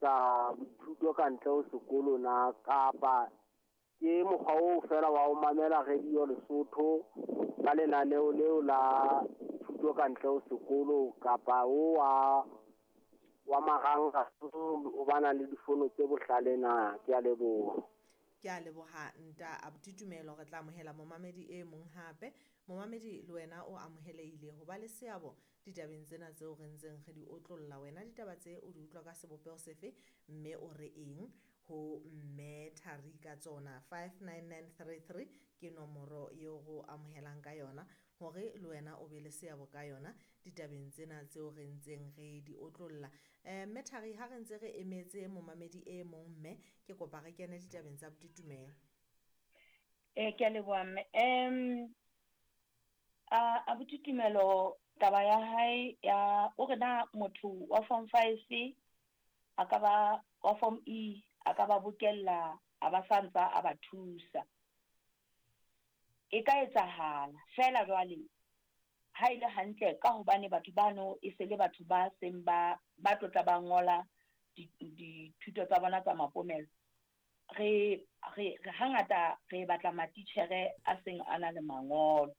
etsa boithuto ka ntle ho sekolo na, kapa ke mokgwa oo feela wa ho mamela radio Lesotho ka lenaneo leo la thuto ka ntle ho sekolo, kapa o wa marangrang o ba nang le difono tse bohlale na? Ke a leboha. Ke a leboha nta abuti Tumelo. Re tla amohela momamedi e mong hape. Momamedi le wena o amohelehile ho ba le seabo ditabeng tsena tseo re ntseng re di otlolla. Wena ditaba tse o di utlwa ka sebopeho sefe, mme o re eng ho mme Thari ka tsona? 59933 ke nomoro eo re o amohelang ka yona hore le wena o be le seabo ka yona ditabeng tsena tseo re ntseng re di otlolla. Mme Thari, ha re ntse re emetse momamedi e mong, mme ke kopa re kene ditabeng tsa botitumelo. Ke a leboha mme. Abuti Tumelo, taba ya hae ya o re na motho wa form 5 a ka ba wa form E a ka ba bokella a ba sa ntsa a ba thusa. E ka etsahala feela jwale ha e le hantle ka hobane batho bano e se le batho ba seng ba ba tlotla ba ngola dithuto tsa bona tsa mapomelo. Re re hangata re batla matitjhere a seng a na le mangolo.